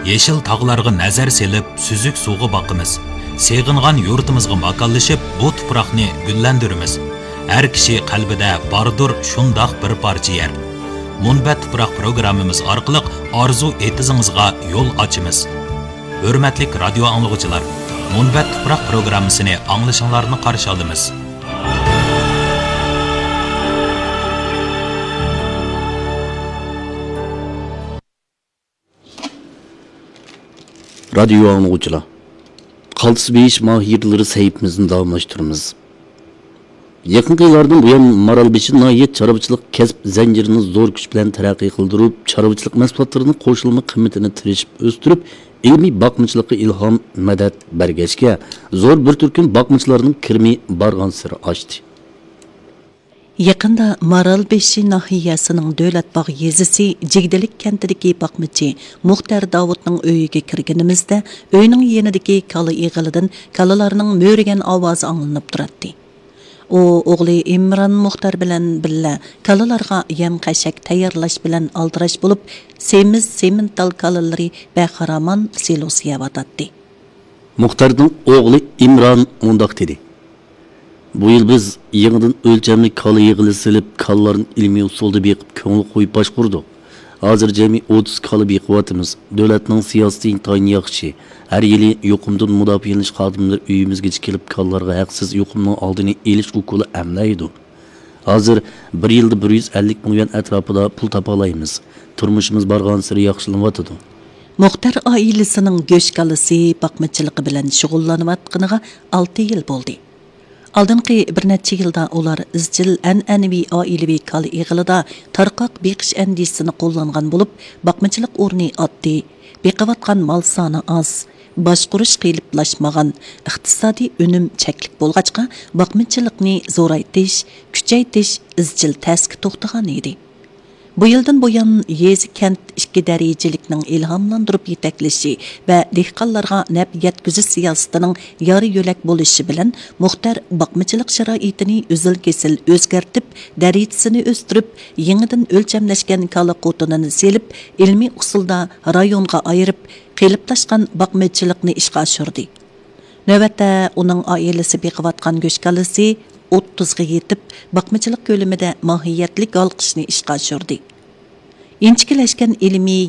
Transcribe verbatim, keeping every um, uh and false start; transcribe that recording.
يېشىل تاغلارغا نەزەر سېلىپ، سۈزۈك سۇغا باقىمىز. سېغىنغان يۇرتىمىزغا ماكانلىشىپ، بۇ تۇپراقنى گۈللەندۈرىمىز. ھەر كىشى قەلبىدە باردۇر شۇنداق بىر پارچە يەر. مۇنبەت تۇپراق پروگراممىمىز ئارقىلىق ئارزۇ ئېتىزىڭىزغا يول ئاچىمىز. ھۆرمەتلىك رادىيو ئاڭلىغۇچىلار، مۇنبەت تۇپراق پروگراممىسىنى ئاڭلىشىڭلارنى قارشى ئالىمىز. رادىيو ئاڭلىغۇچىلار، قالتىس بېيىش ماھىرلىرى سەھىپىمىزنى داۋاملاشتۇرىمىز. يېقىنقى يىللاردىن بۇيان، مارالبېشى ناھىيە چارۋىچىلىق كەسىپ زەنجىرىنى زور كۈچ بىلەن تەرەققىي قىلدۇرۇپ، چارۋىچىلىق مەھسۇلاتلىرىنىڭ قوشۇلما قىممىتىنى تىرىشىپ ئۆستۈرۈپ، ئىلمىي باقمىچىلىققا ئىلھام، مەدەت بەرگەچكە، زور بىر تۈركۈم باقمىچىلارنىڭ كىرىمى بارغانسېرى ئاشتى. يېقىندا مارالبېشى ناھىيەسىنىڭ دۆلەت باغ يېزىسى جىگدىلىك كەنتىدىكى باقمىچى مۇختەر داۋۇتنىڭ ئۆيىگە كىرگىنىمىزدە، ئۆينىڭ يېنىدىكى كالا ئېغىلىدىن كالىلارنىڭ مۆرىگەن ئاۋازى ئاڭلىنىپ تۇراتتى. ئۇ ئوغلى ئىمران مۇختەر بىلەن بىللە كالىلارغا يەم-خەشەك تەييارلاش بىلەن ئالدىراش بولۇپ، سېمىز سېمېنتال كالىلىرى بەخىرامان سىلوسا يەۋاتاتتى. مۇختەرنىڭ ئوغلى ئىمران مۇنداق دېدى: بۇ يىل بىز يېڭىدىن ئۆلچەملىك كالا يىغىلى سېلىپ، كالىلارنى ئىلمىي ئۇسۇلدا بېقىپ، كۆڭۈل قويۇپ باشقۇردۇق. ھازىر جەمئىي ئوتتۇز كالا بېقىۋاتىمىز. دۆلەتنىڭ سىياسىتى ئىنتايىن ياخشى. ھەر يىلى يۇقۇمدىن مۇداپىئەلىنىش خادىملىرى ئۆيىمىزگىچە كېلىپ، كالىلارغا ھەقسىز يۇقۇمنىڭ ئالدىنى ئېلىش ئوكۇلى ئەملەيدۇ. ھازىر بىر يىلدا بىر يۈز ئەللىك مىليون ئەتراپىدا پۇل تاپالايمىز. تۇرمۇشىمىز بارغانسېرى ياخشىلىنىۋاتىدۇ. مۇختەر ئائىلىسىنىڭ گۆش كالىسى باقمىچىلىقى بىلەن شۇغۇللىنىۋاتقىنىغا ئالتە يىل بولدى. ئالدىنقى بىر نەچچە يىلدا ئۇلار ئىزچىل ئەنئەنىۋى ئائىلىۋى كالا ئېغىلىدا تارقاق بېقىش ئەندىزىسىنى قوللانغان بولۇپ، باقمىچىلىق ئورنى ئاددىي، بېقىۋاتقان مال سانى ئاز، باشقۇرۇش قېلىپلاشمىغان، ئىقتىسادىي ئۈنۈم چەكلىك بولغاچقا، باقمىچىلىقنى زورايتىش، كۈچەيتىش ئىزچىل تەسكە توختىغان ئىدى. بۇ يىلدىن بۇيان، يېزا، كەنت ئىككى دەرىجىلىكنىڭ ئىلھاملاندۇرۇپ يېتەكلىشى ۋە دېھقانلارغا نەپ يەتكۈزۈش سىياسىتىنىڭ يار يۆلەك بولۇشى بىلەن، مۇختەر باقمىچىلىق شارائىتىنى ئۈزۈل-كېسىل ئۆزگەرتىپ، دەرىجىسىنى ئۆستۈرۈپ، يېڭىدىن ئۆلچەملەشكەن كالا قوتۇنىنى سېلىپ، ئىلمىي ئۇسۇلدا رايونغا ئايرىپ، قېلىپلاشقان باقمىچىلىقنى ئىشقا ئاشۇردى. نۆۋەتتە ئۇنىڭ ئائىلىسى بېقىۋاتقان گۆش كالىسى ئوتتۇزغا يېتىپ، باقمىچىلىق كۆلىمىدە ماھىيەتلىك ھالقىشنى ئىشقا ئاشۇردى. ئىنچىكىلەشكەن ئىلمىي